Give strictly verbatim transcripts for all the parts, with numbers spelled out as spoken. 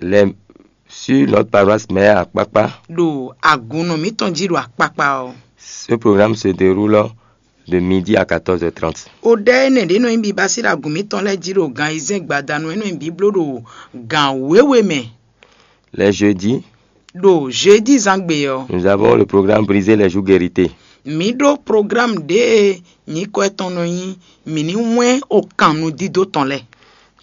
Les, sur notre paroisse mère à Kpakpa, ɖo agunnɔ mǐtɔn jí ɖo akpakpa ɔ́. Ce programme se déroule de midi à quatorze heures trente. O ɖɛ énɛ́ ɖě nɔ nyí biba sín ɖo agun mǐtɔn lɛ́ɛ jí ɖo gan ayizɛ́n gbadanu e nɔ nyí bǐbló ɖo gan wěwe mɛ. Les jeudis, ɖo jeudi zán gbe ɔ́, nous avons le programme Briser les joues guéritées. Mǐ ɖó programme ɖě e nyǐkɔ tɔn nɔ nyí mǐ ní wɛ́n okan nudídó tɔn lɛ́ɛ.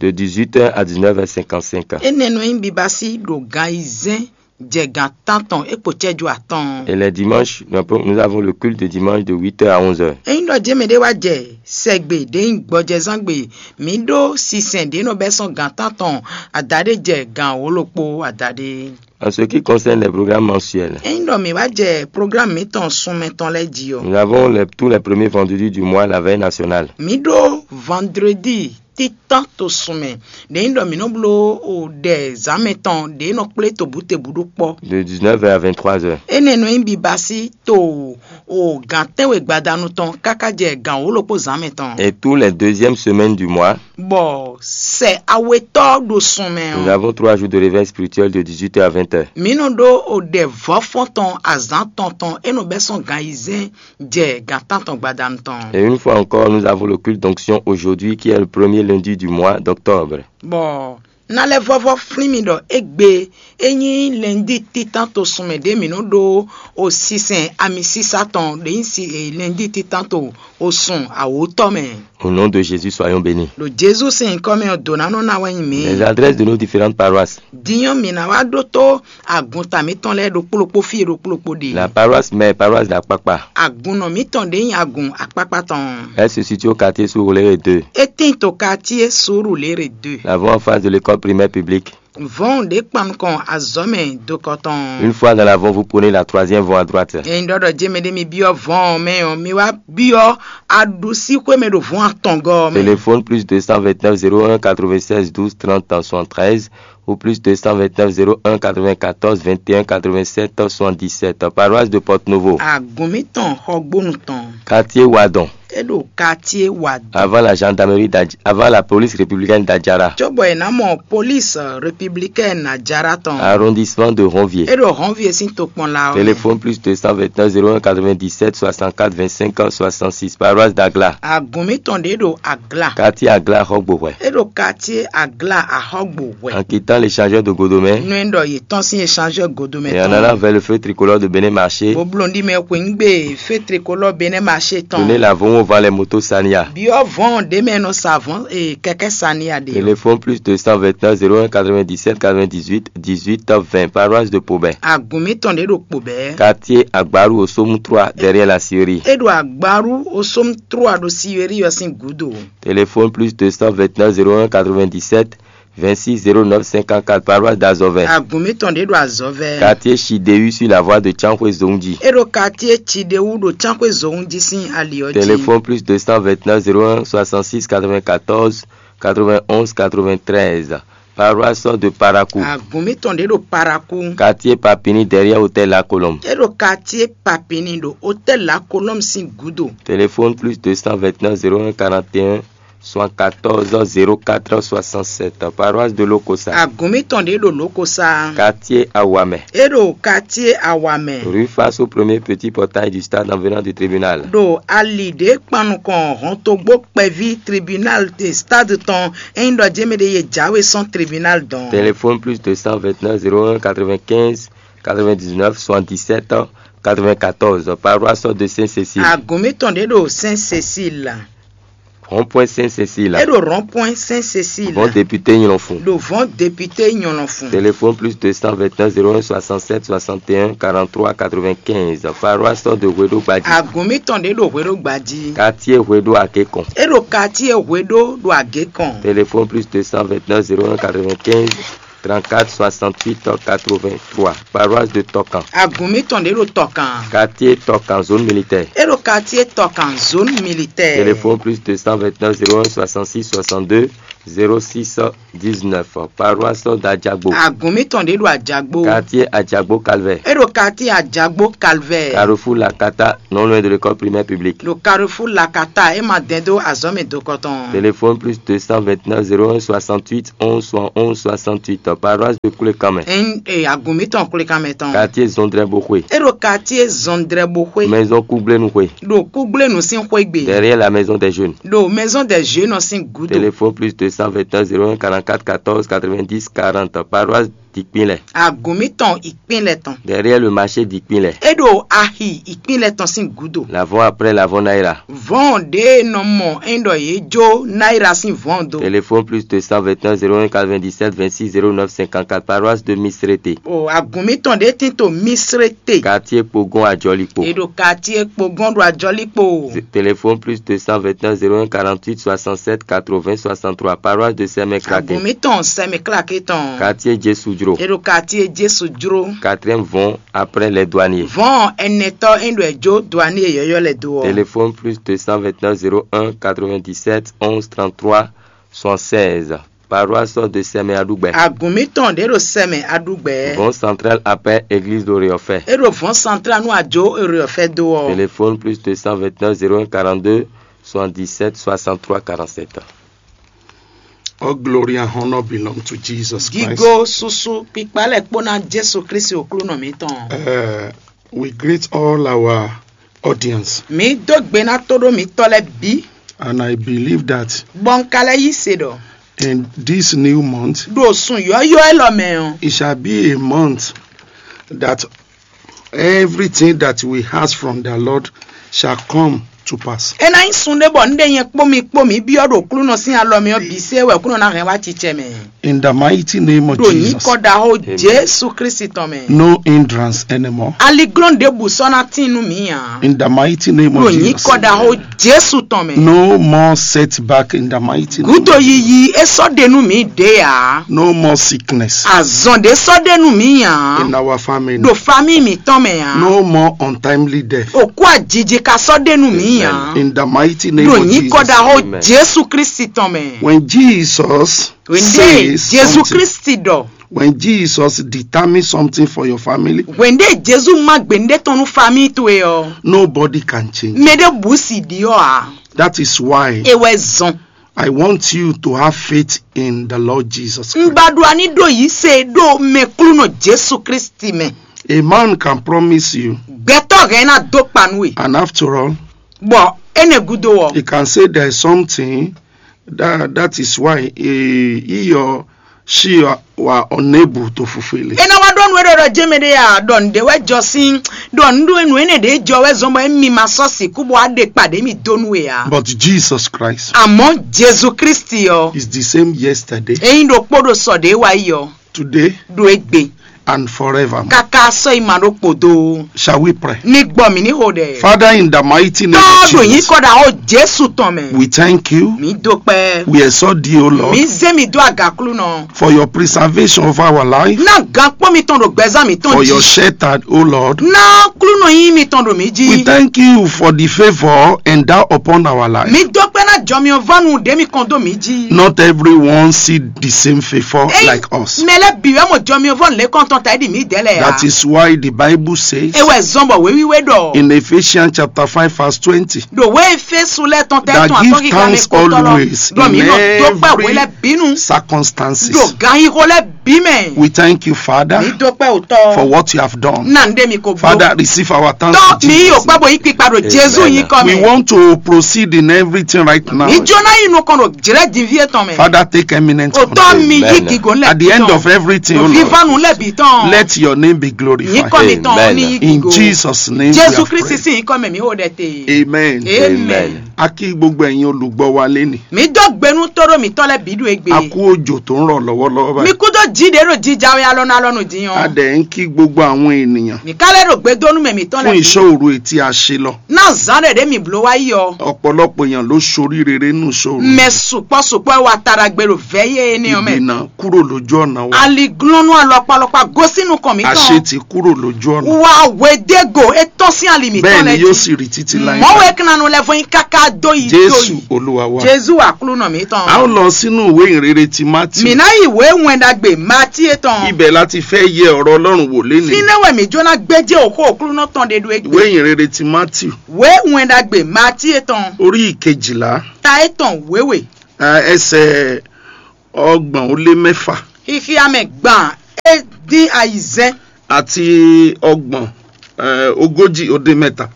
De dix-huit heures à dix-neuf heures cinquante-cinq. Énɛ́ nɔ nyí biba sí ɖo gan ayizɛ́n jɛ gan tántɔn é kpo cɛ́jú atɔ́ɔ́n. Et les dimanches, nous avons le culte de dimanche de huit heures à onze heures. Ényí ɖɔ jɛ́n mɛɖé wá jɛ sɛgbe ɖě nyí gbɔjɛzángbe, mǐ ɖó sinsɛn ɖě nɔ bɛ́ sɔ́ gan tántɔn adaɖé jɛ gan wǒ-ɖokpó adaɖé. En ce qui concerne les programmes mensuels, ényí ɖɔ mǐ wá jɛ programme mǐtɔn sunmɛ tɔn lɛ́ɛ jí ɔ́, nous avons les, tous les premiers vendredis du mois, la veille nationale. Mǐ ɖó vendredi títán to sun mɛ. Ɖě nyí ɖɔ mǐ nɔ bló o ɖɛ zǎnmɛ tɔn ɖě nɔ kplé tobǔtebǔ ɖó kpɔ́. De dix-neuf heures à vingt-trois heures. Énɛ́ nɔ nyí biba sí to o gǎn tɛ́nwe gbadanu tɔn káká jɛ gǎn wǒ-ɖokpó zǎnmɛ tɔn. Et tous les deuxièmes semaines du mois, bɔ sɛ awetɔ́ ɖo sun mɛ ɔ́, nous avons trois jours de réveil spirituel de dix-huit heures à vingt heures. Mǐ nɔ ɖó o ɖɛ vɔ̌fɔ́n tɔn azǎn tɔn tɔn é nɔ bɛ́ sɔ́ gan ayizɛ́n jɛ gan tántɔn gbadanu tɔn. Et une fois encore, nous avons le culte d'onction aujourd'hui, qui est le premier lundi du mois d'octobre. Bɔ ná lɛ́ vɔ́vɔ́ flín mi ɖɔ égbé é nyí lɛndí títán to sun mɛ ɖě mǐ nɔ ɖó o sinsɛn amisísá tɔn ɖě nyí si lɛndí títán to o sun awǒtɔ́ mɛ. Au nom de Jésus, soyons bénis. Ɖo Jezu sín nyǐkɔ mɛ ɔ́, dǒ ná nɔ ná wɛ nyí mǐ. Les adresses de nos différentes paroisses. Din ɔ́, mǐ ná wá ɖótó agunta mǐtɔn lɛ́ɛ ɖokpó ɖokpó fí e ɖokpó ɖokpó ɖe. La paroisse mère, paroisse d'Akpakpa. Agunnɔ mǐtɔn ɖě nyí agun akpákpá tɔn. Elle se situe au quartier Surulere deux. É tíin to quartier Surulere deux. Nous avons en face de l'école primaire publique. Vɔ̌n ɖě kpan nukɔn azɔ̌ mɛ dokɔ tɔn. Une fois dans la vente, vous prenez la troisième vente à droite. Ényí ɖɔ ɖɔ jɛ́n mɛɖé mi byɔ́ vɔ̌n ɔ́ mɛ ɔ́, mi wá byɔ́ aɖusíxwé mɛ ɖo vɔ̌n atɔngɔ́ ɔ́ mɛ. Téléphone plus deux cent vingt-neuf zéro un quatre-vingt-seize douze trente soixante-treize ou plus deux cent vingt-neuf zéro un quatre-vingt-quatorze vingt et un quatre-vingt-sept soixante-dix-sept. Paroisse de Porte-Novo. Agun mǐtɔn Xɔgbónu tɔn. Quartier Wadon. É ɖo quartier Wadon. Avant la gendarmerie d'Adj-, avant la police républicaine d'Adjara. Cóbɔ è nǎ mɔ police républicaine Adjara tɔn. Arrondissement de Ronvier. É ɖo Ronvier sín tokpɔnla ɔ́ mɛ. Téléphone plus deux cent vingt-neuf zéro un quatre-vingt-dix-sept soixante-quatre vingt-cinq soixante-six. Paroisse d'Agla. Agun mǐtɔn ɖě ɖo Agla. Quartier Agla Xɔgbóhwɛ. É ɖo quartier Agla Axɔgbóhwɛ. En quittant l'échangeur de Godomé. Nú é ɖɔ yě tɔ́n sín échangeur Godomé tɔn. Et en allant vers le feu tricolore de Bénin Marché. Bó bló ɖi mɛ xweyǐgbe feu tricolore Bénin Marché tɔn. Prenez la vente au vent les motos Sania. Byɔ́ vɔ̌n ɖě mɛ nɔ sa vɔ̌n e kɛkɛ́ Sania ɖe. Téléphone plus deux cent vingt-neuf zéro un quatre-vingt-dix-sept quatre-vingt-dix-huit dix-huit vingt, paroisse de Pobé. Agun mǐtɔn ɖě ɖo Pobé. Quartier Agbaru au Somme trois, derrière la scierie. É ɖo Agbaru au Somme trois ɖo scierie ɔ́ sín gǔdo. Téléphone plus deux cent vingt-neuf zéro un quatre-vingt-dix-sept vingt-six zéro neuf cinquante-quatre, paroisse d'Azovin. Agun mǐtɔn ɖě ɖo Azovin. Quartier Chidéu sur la voie de Tiankhoué Zongji. É ɖo quartier Chidéu ɖo Tiankhoué Zongji sín ali ɔ́ jí. Téléphone plus deux cent vingt-neuf zéro un soixante-six quatre-vingt-quatorze quatre-vingt-onze quatre-vingt-treize. Paroisse de Parakou. Agun mǐtɔn ɖě ɖo Parakou. Quartier Papini derrière hôtel La Colombe. É ɖo quartier Papini ɖo hôtel La Colombe sín gǔdo. Téléphone plus deux cent vingt-neuf zéro un quarante et un soixante-quatorze zéro quatre soixante-sept, paroisse de Lokosa. Agun mǐtɔn ɖě ɖo Lokosa. Quartier Awamɛ. É ɖo quartier Awamɛ. Rue face au premier petit portail du stade en venant du tribunal. Ɖo ali ɖě kpan nukɔn hɔntogbó kpɛví tribunal de stade tɔn, ényí ɖɔ jɛ́n mɛ ɖě yě jáwé sɔ́n tribunal dɔn. Téléphone plus deux cent vingt-neuf zéro un quatre-vingt-quinze quatre-vingt-dix-neuf soixante-dix-sept quatre-vingt-quatorze, paroisse de Saint-Cécile. Agun mǐtɔn ɖě ɖo Saint-Cécile. Rond-point Saint-Cécile. É ɖo rond-point Saint-Cécile. Vɔn député Nyɔlɔnfun. Ɖo vɔn député Nyɔlɔnfun. Téléphone plus deux cent vingt-neuf zéro un soixante-sept soixante et un quarante-trois quatre-vingt-quinze, paroisse de Hweɖo Gbadji. Agun mǐtɔn ɖě ɖo Hweɖo Gbadji. Quartier Hweɖo Agékɔn. É ɖo quartier Hweɖo ɖo Agékɔn. Téléphone plus deux cent vingt-neuf zéro un quatre-vingt-quinze trente-quatre soixante-huit quatre-vingt-trois, paroisse de Tɔkan. Agun mǐtɔn ɖě ɖo Tɔkan. Quartier Tɔkan, zone militaire. É ɖo quartier Tɔkan, zone militaire. Téléphone plus deux cent vingt-neuf zéro un soixante-six soixante-deux zéro six dix-neuf, paroisse d'Adjagbo. Agun mitɔn ɖé ɖo Adjagbo. Quartier Adjagbo Calvaire. E ɖo quartier Adjagbo Calvaire. Carrefour Lakata, non loin de l'école primaire publique. Ɖo Carrefour Lakata, e ma dɛn dó azɔ̌ mɛ dokɔtɔn. Téléphone plus deux cent vingt-neuf zéro un soixante-huit onze soixante-onze soixante-huit, paroisse de Koulékamɛ. Ɛn, e, agun mitɔn Koulékamɛ tɔn. Quartier Zondrɛboxwe. E ɖo quartier Zondrɛboxwe. Maison Kougblénuxwe. Ɖo Kougblénu sín xwé gbe. Derrière la maison des jeunes. Ɖo maison des jeunes sín gúdo. Téléphone plus deux cent vingt-un zéro un quarante-quatre quatorze quatre-vingt-dix quarante, paroisse d'Ikpinlɛ. Agun mitɔn Ikpinlɛ tɔn. Derrière le marché d'Ikpinlɛ. E ɖo axi Ikpinlɛ tɔn sín gúdo. L'avant après l'avant Naira. Vɔn ɖe nɔ mɔ e ɖɔ yě jó Naira sín vɔn do. Téléphone plus deux cent vingt-un zéro un quatre-vingt-dix-sept vingt-six zéro neuf cinquante-quatre, paroisse de Misrete. O agun mitɔn ɖe tin to Misrete. Quartier Pogon Adjɔlikpo. E ɖo quartier Pogon ɖo Adjɔlikpo. Téléphone plus deux cent vingt-un zéro un quarante-huit soixante-sept quatre-vingts soixante-trois, paroisse de Sɛmɛklake. Agun mitɔn Sɛmɛklake tɔn. Quartier Jesudro. E ɖo quartier Jesudro. Quatrième vɔn après les douaniers. Vɔn ɛnɛtɔ e ɖo ɛ jó douanier yɔyɔ lɛ do ɔ. Téléphone plus deux cent vingt-un zéro un quatre-vingt-dix-sept onze trente-trois soixante-seize. Paroisse de Sɛmɛ Aɖugbɛ. Agun mitɔn ɖe ɖo Sɛmɛ Aɖugbɛ. Vɔn central après église de Réɔfɛ. E ɖo vɔn central nú ajo Réɔfɛ do ɔ. Téléphone plus deux cent vingt-un zéro un quarante-deux soixante-dix-sept soixante-trois quarante-sept. All glory and honor belong to Jesus Christ. Gigo susu kpikpa lɛ kpó ná Jesu Kristi Oklúnɔ mǐtɔn. Uh, we greet all our audience. Mǐ dó gbe ná tóɖó mǐtɔn lɛ́ɛ bǐ. And I believe that Bɔ un ka lɛ́ yí se ɖɔ in this new month, ɖo sun yɔ́yɔ́ élɔ́ mɛ ɔ́, it shall be a month that everything that we ask from the Lord shall come to pass. É ná nyí sun ɖé bɔ un ɖe nyɛ kpó mi kpó mǐ byɔ́ ɖo Oklúnɔ sín alɔ mɛ ɔ́ bǐ sé wɛ Oklúnɔ ná hɛn wá cicɛ mɛ. In the mighty name of Ɖo Jesus. Nyǐkɔ ɖaxó Jesu Kristi tɔn mɛ. No hindrance anymore. Aliglɔ́n ɖěbǔ sɔ́ ná tín nú mǐ ǎ. In the mighty name of Ɖo Jesus. Nyǐkɔ ɖaxó Jesu tɔn mɛ. No more setback in the mighty name. Gúdo yiyi é sɔ́ ɖe nú mǐ ɖě ǎ. No more sickness. Azɔn ɖě sɔ́ ɖe nú mǐ ǎ. In our family. Ɖo famíi mǐtɔn mɛ ǎ. No more untimely death. Òkú ajiji ka sɔ́ ɖe nú mǐ ǎ. In the mighty name Ɖo of nyǐkɔ Jesus. Ɖaxó Amen. Jesu Kristi tɔn mɛ. When Jesus Wěnde says Jesu something, Kristi ɖɔ. When Jesus determines something for your family, Wěnde Jesu má gběndé tɔn nú famíi towe ɔ. Nobody can change. Mɛ ɖé bǔ sì ɖi ɔ́ ǎ. That is why E wɛ zɔn. I want you to have faith in the Lord Jesus Christ. Un ba ɖo ani ɖo yí se ɖo mɛklúnɔ Jesu Kristi mɛ. A man can promise you, Gbɛtɔ́ hɛn ná dó kpa nú we. And after all, Bɔ énɛ́ gúdo ɔ. He can say there is something that, that is why he, he or she are, were unable to fulfill it. É ná wá ɖɔ nú é ɖɔ ɖɔ jɛ́n mɛ ɖé a ɖɔ nǔɖé wɛ jɔ sín ɖɔ nǔɖé nǔ énɛ́ ɖě jɔ wɛ zɔn bɔ émi ma sɔ́ sixú bɔ wá ɖe kpa ɖě mi dó nú we ǎ. But Jesus Christ Àmọ́ Jesu Kristi ɔ, is the same yesterday, é nyí ɖokpó ɖo sɔ ɖě wá yi ɔ, today, ɖo égbé, and forever. Káká sɔ́ yi ma ɖó kpodo. Shall we pray? Ní gbɔ mǐ ní xo ɖɛ. Father, in the mighty name of Tɔ́ ɖo yín Jesus, kɔ ɖa xó Jesu tɔn mɛ. We thank you. Mǐ dó kpẹ́. We exalt thee, O Lord, Mǐ zé mi dó agaklúnɔ. For your preservation of our life. Ná gǎnkpɔ́n mitɔn ɖo gbɛzán mǐtɔn For your jí. Shelter, O Lord. Ná klúnɔ yín mitɔn ɖo mǐ jí. We thank you for the favor endowed upon our life. Mǐ dó kpẹ́ ná jɔmyɔvɔ́nu ɖě mi kɔn dó mǐ jí. Not everyone see the same favor Ey, like us. Mɛ lɛ́ bǐ wɛ mɔ jɔmyɔvɔ́nu lě kɔn tɔn ta é ɖi mǐ dɛ̌ lɛ́ɛ ǎ. That is why the Bible says É wɛ zɔn bɔ wěwíwé ɖɔ. In Ephesians chapter five verse twenty, Ɖo wě Efésu lɛ́ɛ tɔn tɛ that tɔn give atɔ́ kíká mɛ thanks kó tɔ́ lɔ always ɖɔ in mǐ nɔ dó kpɛ every hwě lɛ́ bínú. Circumstances. Ɖo ganxixo lɛ́ bǐ mɛ. We thank you, Father, Mǐ dó kpɛ òtɔ. For what you have done. Ná ń ɖe mi ko bló. Father, receive our thanks Tɔ́ in mǐ yí Jesus' òkpá name. Bo yí kpikpa ɖo Jezu nyí kɔ We mɛ. Want to proceed in everything right now. Mǐ jó ná yi nukɔn ɖo jlɛ̌ din fí étɔn mɛ. Father, take eminent Òtɔ honor. Mi yí Amen. Gígó lɛ At the end of everything, O Lord, Vivanu lɛ bǐ tɔn. Let your name be glorified. Nyíkɔ mi tɔn Amen. Ní yí In gígó. Jesus' name we Jesu have Kristi prayed. Sì nyíkɔ mɛ mǐ ho ɖɛ te. Amen. Amen. Amen. A kí gbogbo ẹ̀yin olùgbọ́ wa lénìí. Mǐ dó gbénú tóɖó mǐtɔn lɛ́ bǐ ɖo égbé. A kú òjò tó ń rọ̀ lọ́wọ́lọ́wọ́ Mi báyìí. Kú dó jí ɖě ɖo jija wɛ alɔnu alɔnu din A ɔ́. Dẹ̀ ń kí gbogbo àwọn ènìyàn Mǐ ká lɛ́ ɖo gbedónú mɛ mǐtɔn lɛ́ fún bǐ. Iṣẹ́ òru etí a ṣe lọ. Ná zǎn ɖě ɖě mǐ bló wá yi ɔ́. Ọ̀pọ̀lọpọ̀ èèyàn ló ṣoríire nínú iṣẹ́ òru. Mɛ sukpɔ́ sukpɔ́ wá taɖagbe ɖo vɛ̌ yé énɛ́ ɔ́ mɛ. Ìdènà kúrò lójú ọ̀nà wa. Aliglɔ́nú alɔkpalɔkpa gosín nukɔn mǐtɔn. Àṣetì kúrò lójú ọ̀nà. Wa hwedégo é tɔ́n sín ali mǐtɔn bẹ́ẹ̀ ni lɛ́ɛ yóò jí. Sì rí títí láé. Mɔ̌ wɛ kínanu lɛ́ vɔ́n nyí káká dó yi dó Jésù yi. Olúwa wa. Jezu Aklúnɔ mǐtɔn. A ó lɔ sínú ìwé ìhìnrere ti Mátì. Mǐ ná yi wě wɛnɖagbe Matíe tɔn. Ibẹ̀ láti fẹ́ yẹ ọ̀rọ̀ Ọlọ́run wò lénìí. Fínɛ́ wɛ mǐ jó ná gbéjé òxó Aklúnɔ tɔn ɖe ɖó Ìwé égbé. Ìhìnrere ti Mátì. Wě wɛnɖagbe Matíe tɔn. Orí ìkejìlá. Ta étɔn wěwe. Ẹ, ẹsẹ̀ ọgbọ̀n ó lé mẹ́fà. Xixia mɛ gban é dín ayizɛ́n. Àti ọgbọ̀n, ẹ, ogójì ó dín mẹ́ta.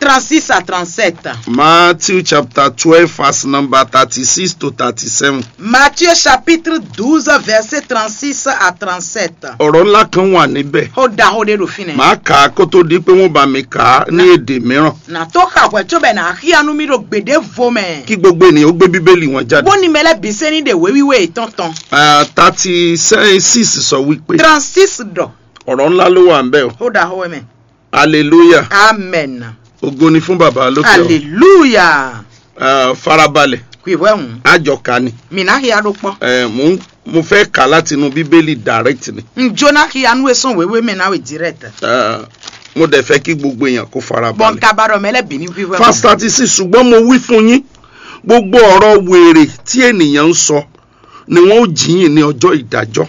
Trente-six à trente-sept. Matthew chapter twelve, verse number thirty-six to thirty-seven. Matthieu chapitre douze, verset trente-six à trente-sept. Ọ̀rọ̀ ńlá kan wà níbẹ̀. Ó da ó ɖe ɖo fínɛ́. Màá kà á kó tó di pé wọ́n bá mi kà á ní èdè mìíràn. Nà tó xa hwɛ̌ cóbɔ è nǎ xyá nú mì ɖo gběɖěvo mɛ. Kí gbogbo ènìyàn ó gbé Bíbélì wọn jáde. Bóni mɛ lɛ́ɛ bǐ sɛ́n ní ɖe wěwíwé yětɔn tɔn. Ah, thirty-six sọ wípé. Trente-six ɖɔ. Ọ̀rọ̀ ńlá ló wà ń bẹ̀ o. Ó ɖaxó wɛ mɛ. Hallelujah. Amen. Ògo ni fún bàbá lókè o. Hallelujah. Ah, farabalẹ̀. Kwi hwɛ hùn. Àjọ ká ni. Mì ná hia ɖó kpɔ́. Eh, mo, mo fẹ́ kà láti inú Bíbélì direct ni. N jó ná hia nú e sɔn wěwé mɛ ná we direct. Ah, mo dẹ̀ fẹ́ kí gbogbo èèyàn kó farabalẹ̀. Bɔn kaba ɖɔ mɛ lɛ bì ní hwi hwɛ. Verse thirty-six, ṣùgbọ́n mo wí fún yín, gbogbo ọ̀rọ̀ wèrè tí ènìyàn ń sọ ni wọ́n ó jìyìn ní ọjọ́ ìdájọ́.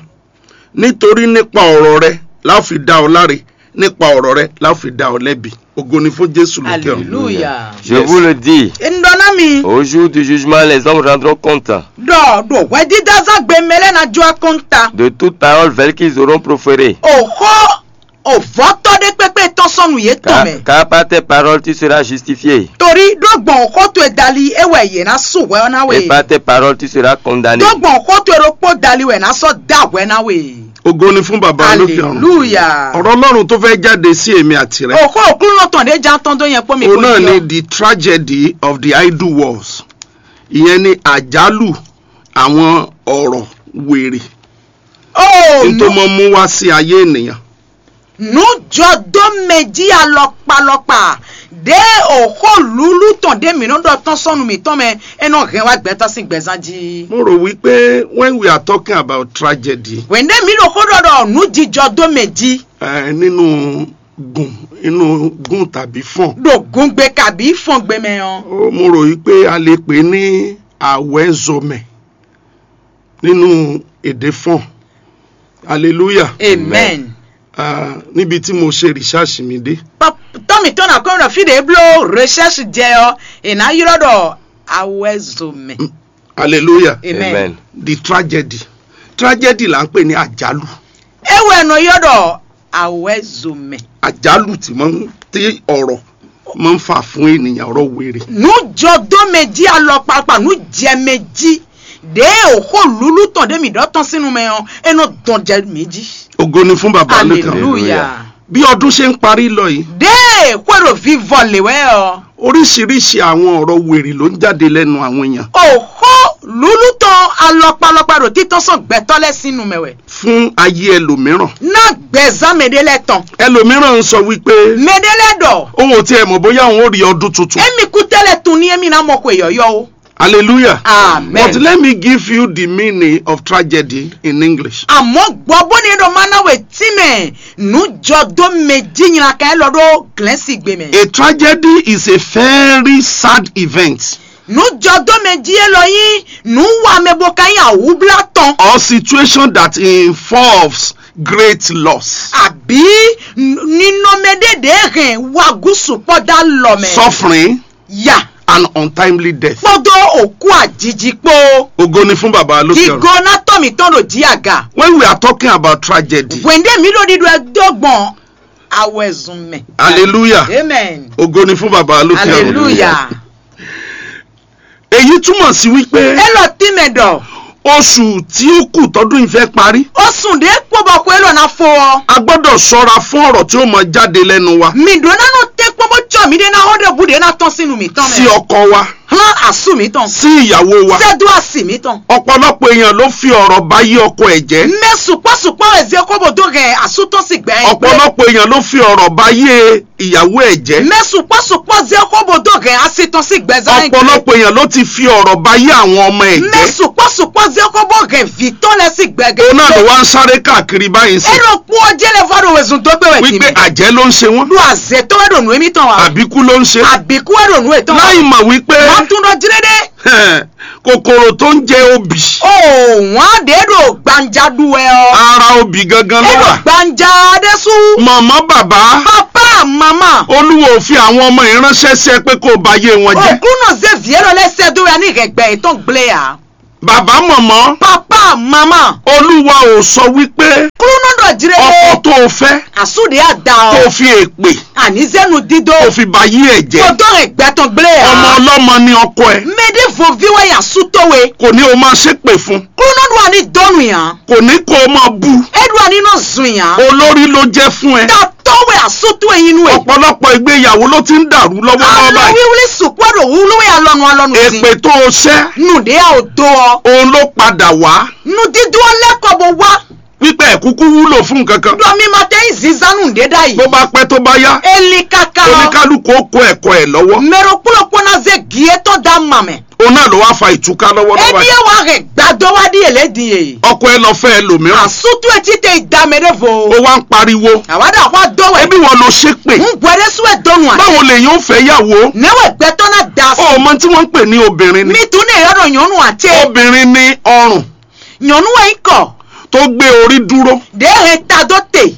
Nítorí nípa ọ̀rọ̀ rẹ la ó fi dá ọ láre, nípa ọ̀rọ̀ rẹ la ó fi dá ọ lẹ́bi. Ògo ni fún Jésù lókè ọ̀run. Hallelujah. Je vous le dis, n ɖɔ ná mi. Au jour du jugement, les hommes rendront compte. Ɖɔ ɖo hwɛdídázán gbe mɛ lɛ́ɛ ná jó akɔ́nta. De toute parole vaine qu'ils auront proférée. Òxó òvɔ́tɔ́ ɖé kpékpé tɔn sɔ́ nǔ yětɔn mɛ. Car par tes paroles tu seras justifié. Torí ɖó gbɔn xó towe dali é wɛ yě ná sú hwɛ ɔ́ ná we. Et par tes paroles tu seras condamné. Ɖó gbɔn xó towe ɖokpó dali wɛ ná sɔ́ dá hwɛ ná we. Ògo ni fún bàbá lókè ọ̀run. Hallelujah. Ọ̀rọ̀ Ọlọ́run tó fẹ́ jáde sí èmi àti rẹ. Òxó òkúlùnà tɔn ɖé já tɔn dó yẹn kpó mi. Òun kò náà ní ni ọ. The tragedy of the idle words. Ìyẹn ni àjálù àwọn ọ̀rọ̀ wèrè. Ó. N tó mọ mú wá sí ayé ènìyàn. Nǔjɔdómɛjí alɔkpalɔkpa ɖě òxó lúlú tɔn ɖé mǐ nɔ ɖɔ tɔn sɔ́ nu mǐtɔn mɛ, é nɔ hɛn wá gbɛtɔ́ sín gbɛzán jí. Mo rò wípé when we are talking about tragedy, Hwěndé mǐ ɖo xó ɖɔ ɖɔ nǔjijɔdómɛjí eh, nínú gùn inú gùn tàbí fọ̀n, ɖo gungbe kabí fɔngbe mɛ ɔ́, ó, mo rò wípé a lè pè é ní àwẹ́zɔmẹ̀ nínú èdè fọ̀n. Hallelujah. Amen. Ah, níbi tí mo ṣe research mi dé. Tɔ́ mǐtɔn ná kɔn ɖɔ fí ɖě bló recherche jɛ ɔ́, è nǎ ylɔ́ ɖɔ awɛzomɛ. Hallelujah. Amen. Amen. The tragedy. Tragedy là ń pè ní àjálù. É wɛ nɔ ylɔ́ ɖɔ awɛzomɛ. Àjálù tí máa ń tí ọ̀rọ̀ máa ń fà fún ènìyàn, ọ̀rọ̀ wèrè. Nǔjɔdómɛjí alɔkpakpa nǔjɛmɛjí ɖě òxó lúlú tɔn ɖé mǐ ɖɔ tɔn sín nu mɛ ɔ́, é nɔ dɔn jɛ mǐ jí. Ògo ni fún bàbá lókè ọ̀run. Hallelujah. Bí ọdún ṣe ń parí lọ yìí, Ɖě xwé ɖo vivɔ lě wɛ ɔ́, oríṣiríṣi àwọn ọ̀rọ̀ wèrè ló ń jáde lẹ́nu àwọn èèyàn. Òxó lúlú tɔn alɔkpalɔkpa ɖo títɔ́n sɔn gbɛtɔ́ lɛ́ɛ sín nu mɛ wɛ. Fún ayé ẹlòmíràn. Ná gbɛzán mɛ ɖé lɛ́ɛ tɔn. Ẹlòmíràn ń sọ wípé Mɛ ɖé lɛ́ɛ ɖɔ. Òun ò tiẹ̀ mọ̀ bóyá òun ó rí ọdún tuntun. Émi kú tẹ́lẹ̀ tun ní émi ná mɔ xwe yɔ̌yɔ́ ó. Hallelujah. Amen. But let me give you the meaning of tragedy in English. Àmọ́ gbọ́ bó ní ɖo má ná wè tí mɛ nǔjɔdómɛjí nylakan élɔ́ ɖó glɛ̌nsigbe mɛ. A tragedy is a very sad event. Nǔjɔdómɛjí élɔ́ nyí nǔ wa mɛ bó ka nyí awǔblá tɔn. Or situation that involves great loss. Àbí ninɔmɛ ɖé ɖě hɛn wagúsù kpɔ́ dó alɔ mɛ. Suffering. Ya. And untimely death. Kpódó òkú àjiji kpó. Ògo ni fún bàbá lókè ọ̀run. Digo ná tɔ́ mǐtɔn ɖo jí aga. When we are talking about tragedy. Hwěndé mǐ ɖo ɖiɖɔ ɛ dó gbɔn awɛzun mɛ. Hallelujah. Amen. Ògo ni fún bàbá lókè ọ̀run. Hallelujah. Èyí túmọ̀ sí wípé Élɔ́ tí mɛ ɖɔ. Oṣù tí ó kù tọdún yìí fẹ́ parí. Ó sùn ɖé kpó bɔ xwé lɔ ná fó ɔ́. A gbọ́dọ̀ ṣọ́ra fún ọ̀rọ̀ tí ó máa jáde lẹ́nu wa. Mǐ ɖó ná nɔ tɛ́ kpɔ́n bó cɔ mǐ ɖé ná xɔ ɖé bú ɖé ná tɔ́n sín nu mǐtɔn mɛ. Sí ọkọ wa. Xlán asú mǐtɔn. Sí ìyàwó wa. Sɛ́ dó asi mǐtɔn. Ọ̀pọ̀lọpọ̀ èèyàn ló fi ọ̀rọ̀ bá yí ọkọ ẹ̀ jẹ́. Mɛ sukpɔ́ sukpɔ́ wɛ zé xó bó dó hɛn asú tɔn sín gbɛ̌. Ọ̀pọ̀lọpọ̀ èèyàn ló fi ọ̀rọ̀ bá yí ìyàwó ẹ̀ jẹ́. Mɛ sukpɔ́ sukpɔ́ zé xó bó dó hɛn asi tɔn sín gbɛ̌ zán. Ọ̀pọ̀lọpọ̀ èèyàn ló ti fi ọ̀rọ̀ bá yí àwọn ọmọ ẹ̀ jẹ́. Mɛ sukpɔ́ sukpɔ́ zé xó bó hɛn vǐ tɔn lɛ́ɛ sín gbɛ̌ gɛ́. Òun náà ló wá ń sáré káàkiri báyìí sí. É ɖo kpó ɔ́ jẹ́ lɛ vɔ ɖo wezun dó gbé wɛ tì wípé mí. Àjẹ́ ló ń ṣe wọ́n. Ɖo azě tɔn wɛ ɖo nǔ émítɔn wa. Àbíkú ló ń ṣe. Àbíkú wɛ ɖo nǔ étɔn wa. Láì mọ̀ wípé Má tún ɖɔ jlé ɖé. Kòkòrò tó ń jẹ obì. O wọ́n ɖě ɖo gbanja ɖu wɛ ɔ́. Ara obì gangan ló É ɖo wà. Gbanja ɖé sú. Màmá bàbá. Papa mama. Olúwo ò fi àwọn ọmọ yìí ránṣẹ́ sí ẹ pé kó o ba yé wọn jẹ́. Òkúnnù zé vǐ élòó lɛ́ sɛ́ dó wɛ ní hɛgbɛ yětɔn gblé ǎ. Bàbá màmá. Papa mama. Olúwa ò sọ wípé Kúrúnú ɖɔ jlé. Ọkọ tó o fẹ́ Àsúɖe àda tó o ɔ. Fi èpè Àní zénu dídó. Tó o fi ba yí ẹ̀ jẹ́. Kò dó hɛn gbɛ tɔn gblé ǎ. Ọmọ ọlọ́mọ ni ọkọ ẹ. Mɛɖé voví wɛ ya sú tó we. Kò ní o máa ṣépè fún. Kúrúnú ɖo àní dɔnu yàn. Kò ní kó o máa bú. É ɖo àní nɔ zun yàn. Olórí ló jẹ́ fún ẹ. Tatɔ wɛ àsútú ẹyin nú ẹ. Ọ̀pọ̀lọpọ̀ ìgbéyàwó ló ti ń dàrú lọ́wọ́lọ́wọ́ Alɔ báyìí. Wíwlí sùkú ɖo wúlú wɛ alɔnu alɔnu Èpè sí. Tó o ṣẹ́, Nù ɖé a ò do ɔ. Òun ló padà wá. Nù dídú ɔ lɛ́kɔ bó wá. Pípẹ́ ẹ̀ kúkú wúlò fún nǹkan kan. Ɖɔ mi ma tɛ yi zinzan nù ɖé ɖ'ayǐ. Bó bá pẹ́ tó bá yá, Eli kaka ɔ. Oníkálukú ó kó ẹ̀kọ́ ẹ̀ lọ́wọ́. Mɛ ɖokpó ɖokpó ná zé gǐ étɔn dó ama mɛ. Òun náà ló wá fa ìtúká lọ́wọ́lọ́wọ́ báyìí. Ebi ɛ wá hɛn gbadó wá ɖi èlé din e. Ọkọ ẹ lọ fẹ́ ẹlòmíràn. Àsútú etí te da mɛ ɖé vo. Ó wá ń pariwo. Àwa ɖo àwa dó wɛ. Ebi wọn ló ṣe pè. Ń gbọ́ ɖé sú ẹ dɔnu àti. Báwo lèyàn ó fẹ́ yàwó? Nɛwɛ gbɛtɔ ná da O sí. Mọ tí wọ́n ń pè ní obìnrin ni. Mi tún ní èyí ọ̀dọ̀ nyɔnu àti. Obìnrin ni ọrùn. Nyɔnu wɛ yín kɔ. Tó gbé orí dúró. Ɖě hɛn ta dó te.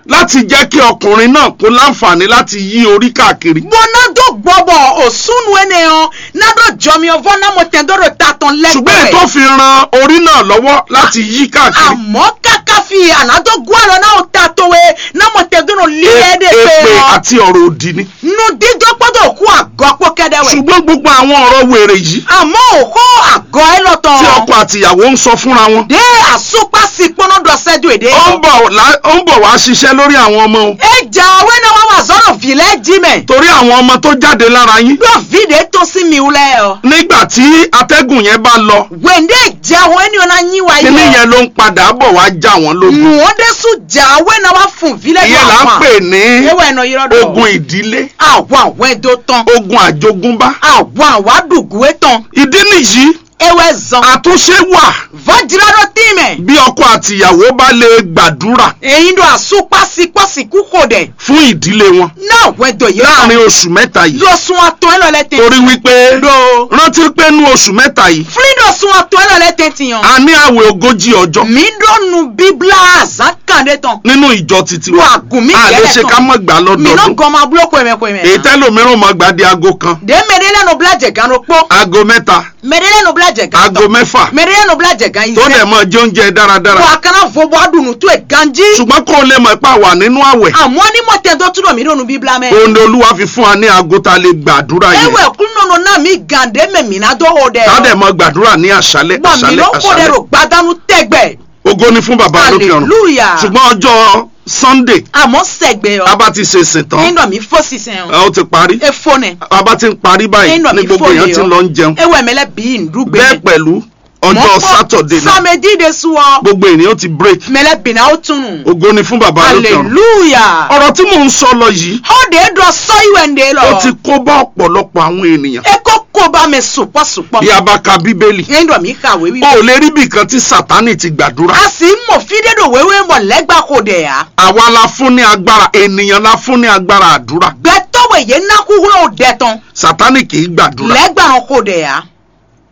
Láti jẹ́ kí ọkùnrin náà kó láǹfààní láti yí orí káàkiri. Bó ná dó gbɔbɔ òsúnú énɛ́ ɔ́, ná ɖó jɔmyɔvɔ́ ná mɔ tɛn dó ɖo ta tɔn lɛ́ Ṣùgbọ́n èyí tó fi ran orí náà lọ́wọ́ láti yí káàkiri. Àmọ́ káká fi ànádó gún àlọ́ náà ó ta towe ná mɔ tɛn dó ɖo lílẹ̀ é dé pé Èpè ɔ́. Àti ọ̀rọ̀ òdì ni. Nudídó kpódó òkú àgọ́ kpó kɛ́dɛ́ wɛ. Ṣùgbọ́n gbogbo àwọn ọ̀rọ̀ wèrè yìí Àmọ́ òkú àgọ́ ẹ lọ tán. Tí ọkọ àti ìyàwó ń sọ fúnra wọn. Dé àsopá sí kpɔ́nɔ́ ɖɔ sɛ́dó èdè. Ó ń bọ̀ lá- ó ń bọ̀ wá ṣiṣẹ́ lórí àwọn ọmọ o. Ẹ jà wé náà wá wà zọ́nà vǐ lɛ́ jí mɛ. Torí àwọn ọmọ tó jáde lára yín. Ɖó vǐ ɖě tó sí mi wú lɛ́ ɔ. Nígbà tí atẹ́gùn yẹn bá lọ, Wěndé jà wé ni ɔ́ ná nyí wa yí kíní lɛ. Yẹn ló ń padà bọ̀ wá já wọn lógun. Nù ó dé sú jà wé náà wá fún vǐ lɛ́ Ìyẹn là ń pè ní Ewé ẹ̀nà yìí rọ́dọ̀. Ogun ìdílé. Àwọn àwọn ẹ̀dọ́ tán. Ogun àjogúnbá. Àwọn àwọn àdùgú ẹ̀ tán. Ìdí nìyí. Ewé zan. Àtúnṣe wà. Vọ́jìlá ló tì mẹ́. Bí ọkọ àti ìyàwó bá lè gbàdúrà Èyí ló àsopá sí pọ́sìkú kò dẹ̀. Fún ìdílé wọn. Náà wẹ́ dọ̀ yìí. Láàrin oṣù mẹ́ta yìí. Lọ sun atọ́ ẹ lọ lẹ́tẹ̀. Torí wípé. Do. Rántí pé nú oṣù mẹ́ta yìí. Fúlí lọ sun atọ́ ẹ lọ lẹ́tẹ̀ tiyan. A ní àwẹ̀ ogójì ọjọ́. Mi ɖo nu bíblá azán kan ɖé tɔn. Nínú ìjọ titi wa. Wà gùn mí A lè gẹ́lẹ́ ṣe tɔn. Ká mọ̀ gbà Mi lọ́dọọdún. Nɔ gɔn ma bló kɔmɛ kɔmɛ. Èyí tẹ́lòmíràn máa gba di aago kan. Ɖě mɛ ɖé lɛ́ɛ nɔ blá jɛ gán ɖokpó. Aago mẹ́ta. Mɛ ɖé lɛ́ɛ nɔ blá jɛ gán Aago tɔn. Mẹ́fà. Mɛ ɖé lɛ́ɛ nɔ blá jɛ gán yi Tó dẹ̀ sẹ́. Mọ jẹ oúnjẹ dáradára. Wà á kana vo bɔ aɖu nǔ tó e ganjí. Ṣùgbọ́n kó o lè mọ̀ pé a wà nínú àwẹ̀. Àmọ́ ní mọ̀ tẹ́ dó túnú mi ɖo nu bíblá mẹ́. Òun ni Olúwa fi fún wa ní aago tá a lè gbàdúrà yìí. Ewé kúnnú nɔ ná mi gàn ɖé mɛ mǐ ná dó o ɖɛ. Ká dẹ̀ mọ gbàdúrà ní àṣálẹ́, Gbà mí àṣálẹ́, ló kó ɖẹ àṣálẹ́. Ɖo gbadanu tɛgbɛ. Ògo ni fún bàbá lókè ọ̀run. Hallelujah. Ṣùgbọ́n ọjọ́ Sunday, Àmọ́ sẹ́gbẹ́ ọ. A bá ti ṣe sìn tán. Ẹyin dọ̀ mí fó sísẹ́ ọ. Ẹ, ó ti parí. Efo nẹ. A bá ti ń parí báyìí, Ẹyin dọ̀ ní mí gbogbo fó èèyàn lè ti ọ. Lọ ń jẹun. Ewé mi lẹ bí ìdúgbe. Bẹ́ẹ̀ pẹ̀lú, ọjọ́ Mọ́ fún Saturday náà. Samedi de su ọ. Gbogbo ènìyàn ti break. Mẹlẹ bìnà ó tunu. Ògo ni fún bàbá lókè ọ̀run. Hallelujah. Ọ̀rọ̀ tí mò ń sọ lọ yìí, Ó de dɔ sɔ iwɛ ń de lọ. Ó ti kó bá ọ̀pọ̀lọpọ̀ àwọn ènìyàn. E ko ko ba mɛ sukpɔ sukpɔ. Bí a bá ka Bíbélì, Yẹn dɔ mi ka wéwí. O ò lè rí ibì kan tí Sátánì ti gbàdúrà. A sì mọ̀ fídé ɖo wéwé mọ̀ lẹ́gbàá kò dẹ̀ á. Àwa la fún ní agbára, ènìyàn la fún ní agbára àdúrà. Gbɛtɔ́ wɛ yě ná kúkúrú ò dɛ tɔn. Sátánì kì í gbàdúrà. Lẹ́gbàá kò dẹ̀ á.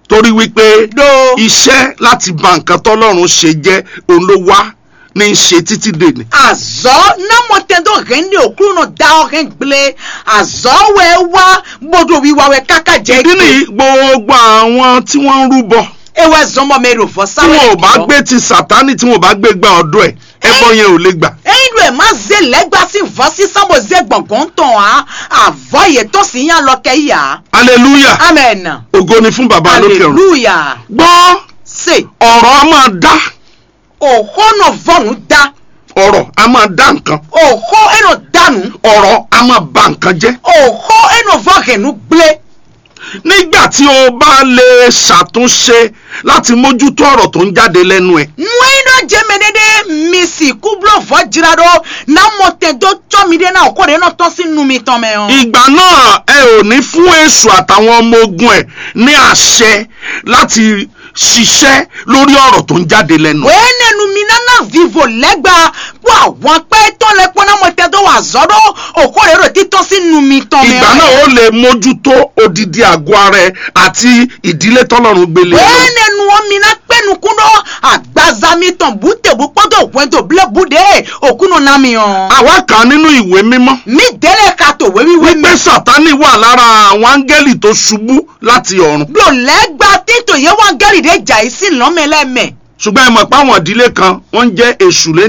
Torí wípé Ɖó. Iṣẹ́ láti ba nǹkan tọ́lọ́run ṣe jẹ́, òun ló wá ní í ṣe títí dèní. Azɔ ná mɔ tɛn dó hɛn ɖe òkúrúnɔ da ɔ hɛn gblé. Azɔ wɛ wá bódó wíwá wɛ káká jɛ. Ìdí nìyí, gbogbo àwọn tí wọ́n ń rúbọ, Ewɛ zɔmɔ mɛ ɖo vɔ tí sáwɛ. Wọn ò bá gbé ti Sátánì, tí wọn ò bá gbé gba ọ̀dọ̀ ẹ̀, ẹbọ yẹn ò lè gbà. Eyin ɖo ɛ má zé lɛgba sí vɔ sí sábò zé gbɔngɔn tɔn á. Avɔ yɛ tɔn sí yín alɔ kɛ yí á. Hallelujah. Amen. Ògo ni fún bàbá lókè ọ̀run. Hallelujah. Gbọ́, Se. Ọ̀rọ̀ á máa dá. Òxó nɔ vɔ nǔ da. Ọ̀rọ̀ á máa dá nǹkan. Òxó é nɔ da nǔ. Ọ̀rọ̀ á máa ba nǹkan jẹ́. Òxó é nɔ vɔ hɛn nǔ gblé. Nígbà tí o bá lè ṣàtúnṣe láti mójútó ọ̀rọ̀ tó ń jáde lẹ́nu ẹ̀. Nú é nyí ɖɔ jɛ mɛ ɖé ɖé mi sixú bló vɔ̌ jra ɖó ná mɔ tɛn dó cɔ́ miɖée ná òkó ɖě nɔ tɔ́n sín nu mitɔn mɛ ɔ́. Ìgbà náà ẹ ò ní fún èṣù àtàwọn ọmọ ogun ẹ̀ ní àṣẹ láti ṣiṣẹ́ lórí ọ̀rọ̀ tó ń jáde lẹ́nu. Wěnɛnu mi ná ná vivo lɛ́gba kpó ahwankpá étɔn lɛ́ɛ kpó ná mɔ tɛn dó wa azɔ̌ ɖó òkó ɖě ɖo títɔ́n sín nu mitɔn mɛ. Ìgbà náà ó lè mójútó odidi àgọ́ ara ẹ àti ìdílé tɔlọ́run gbélé ẹ lọ. Wěnɛnu ɔ́ mi ná kpé nukún ɖó agbaza mitɔn bǔtebú kpódó hwɛndo blébú ɖě òkú nɔ ná mi ɔ́. Àwa kà á nínú ìwé mímọ́. Mi délé ka to wéwíwé wípé mɛ. Sátánì wà lára àwọn áńgẹ́lì tó ṣubú láti ọ̀run. Ɖo lɛ́gba títò yé wá gɛ́lì ɖé jà yí sín lɔ̌mɛ lɛ́ɛ mɛ. Ṣùgbọ́n ẹ mọ̀ pé àwọn ìdílé kan wọ́n ń jẹ́ èṣù lẹ́nu.